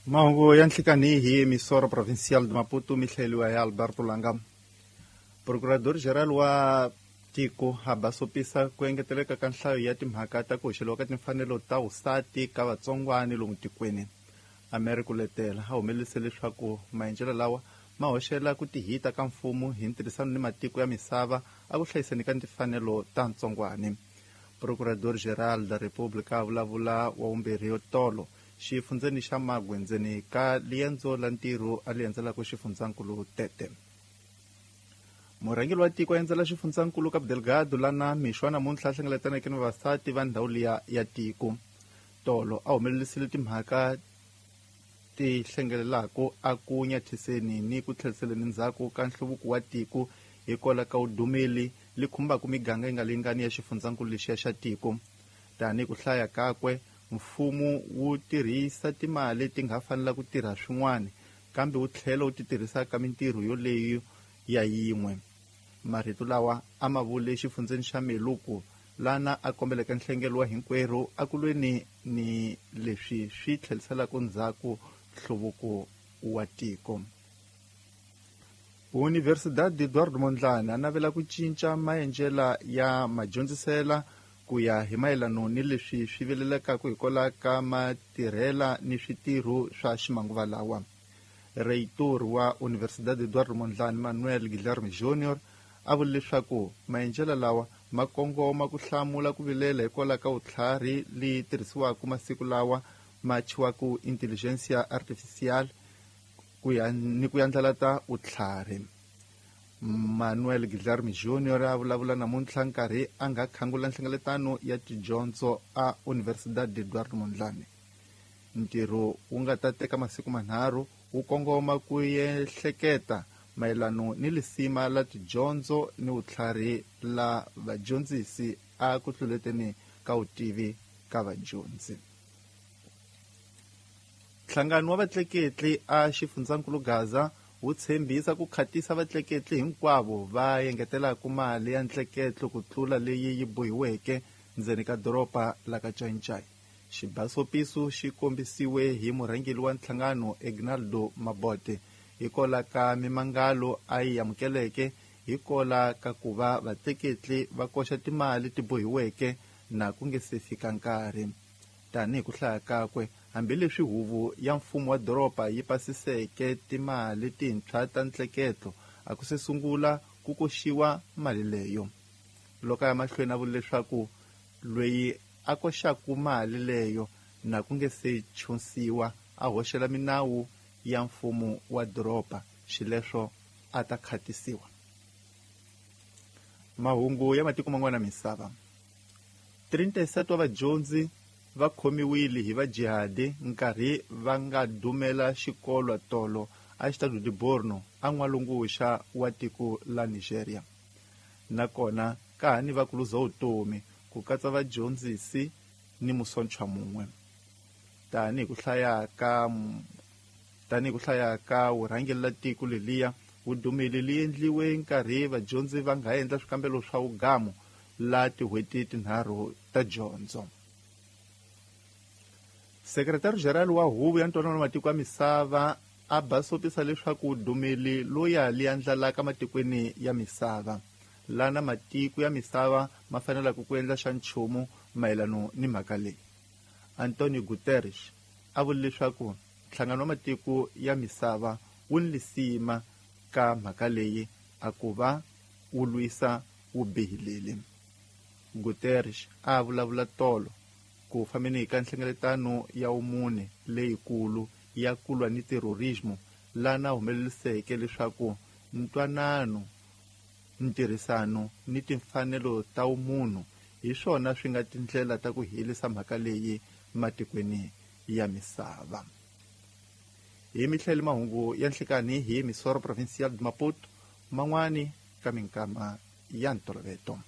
Mahungu ya nhlikani hi Emissora Provincial de Maputo mi hlayeliwa hi Alberto Langa. Procurador Geral wa tiko a basopisa ku engeteleka ka nhlayo ya timhaka ta ku hoxeliwa ka timfanelo ta vusati ka vatsongwani lomu tikweni. Americo Letela a humelelise leswaku maendlelo lawa ma hoxela ku tihita ka mfumo hi ntirhisano ni matiko ya misava a ku hlayiseni ka timfanelo ta ntsongwani. Procurador Geral da República a vulavula wa vumbirhi yo tolo xifundzeni xa Magwe ndzeni ka liendzo la ntirho a li endzelaka xifundzankulu Tete. Murhangeri wa tiko a endzela xifundzankulu Cabo Delgado lana mixo wa namuntlha a hlengeletaneke ni vavasati va ndhawu liya ya tiko. Tolo a humelelisile timhaka ti hlengelelaka a ku nyathiseni ni ku tlheliseleni ndzhaku ka nhluvuko wa tiko hikwalaho ka vudumeli li khumbaka miganga yi nga lingani ya xifundzankulu lexiya xa tiko. Tanihi ku hlaya kakwe, mfumo wu tirhisa timali ti nga fanela ku tirha swin'wana, kambe wu tlhela wu ti tirhisa ka mintirho yoleyo ya yin'we. Marito lawa a ma vule exifundzeni xa Meluku, lana a kombeleke nhlengelo wa hinkwerhu a ku lweni ni leswi swi tlheliselaka ndzhaku nhluvuko wa tiko. Universidade Eduardo Mondlane a navela ku cinca maendlela ya madyondzisela ku ya hi mayelano ni leswi swi vilelekaka hikwalaho ka matirhela ni switirho swa ximanguva lawa. Reitor wa Universidade Eduardo Mondlane Manuel Guilherme Júnior a vule leswaku maendlela lawa ma kongoma ku hlamula ku vilela hikwalaho ka vutlhari leyi tirhisiwaka masiku lawa ma thyiwaka intelligentsia artificial ku ya ni ku yandlalata vutlhari. Manuel Guilherme Júnior a vulavula namuntlha nkarhi a nga khangula nhlengeletano ya tidyondzo a Universidade Eduardo Mondlane. Ntirho wu nga ta teka masiku manharhu wu kongoma ku ehleketa mayelano ni lisima la tidyondzo ni vutlhari la vadyondzisi a ku tluleteni ka vutivi ka vadyondzi. Nhlangano wa vatleketli a xifundzankulu Gaza wu tshembisa ku khatisa vatleketli hinkwavo va engetelaka mali ya ntleketlo ku tlula leyi yi bohiweke ndzeni ka doroba la ka Cancai. Xibasopiso xi kombisiwe hi murhangeri wa nhlangano Egnaldo Mabote hikola ka mimangalo a yi amukeleke hikola ka ku va vatleketli va koxa timali ti bohiweke na ku nge se fika nkarhi. Tanihi ku hlaya kakwe, hambileswi huvo ya mfumo wa doroba yi pasiseke timali tintshwa ta ntleketlo, a ku se sungula ku koxiwa mali leyo. Loko a ya mahlweni a vula leswaku loyi a koxaka mali leyo na ku nge se chunsiwa a hoxela minawu ya mfumo wa doroba, xileswo a ta khatisiwa. Mahungu ya matiko man'wana misava. 37 wa vadyondzi va khomiwile hi vajihadi nkarhi va nga dumela xikolo tolo a Estado de Borno a n'walungu-vuxa wa tiko la Nigeria. Nakona ka ha ni va ku luza vutomi ku katsa vadyondzisi ni musontshwa mun'we. Tanihi ku hlaya ka tanihi ku hlaya ka vurhangeri la tiko leliya vudumeli li endliwe nkarhi vadyondzi va nga endla swikambelo swa vugamu la tin'hweti tinharhu ta dyondzo. Sekretari General wa Huvo ya Ntwanano wa Matiko ya Misava a basopisa leswaku dumeli loya li andlalaka matikweni ya misava lana matiko ya misava ma fanelaka ku endla xa nchumu mayelano ni mhaka leyi. Antonio Guterres a vule leswaku nhlangano wa matiko ya misava wu ni lisima ka mhaka leyi a ku va wu lwisa vubihileli. Guterres a vulavula tolo ku fambeni ka nhlengeletano ya vumune leyikulu ya ku lwa ni terrorismo lana humeleliseke leswaku ntwanano, ntirhisano ni timfanelo ta vumunhu hi swona swi nga tindlela ta ku herisa mhaka leyi matikweni ya misava. Hi mihlele mahungu ya nhlikani hi Emissora Provincial de Maputo man'wani ka minkama ya ntoloveto.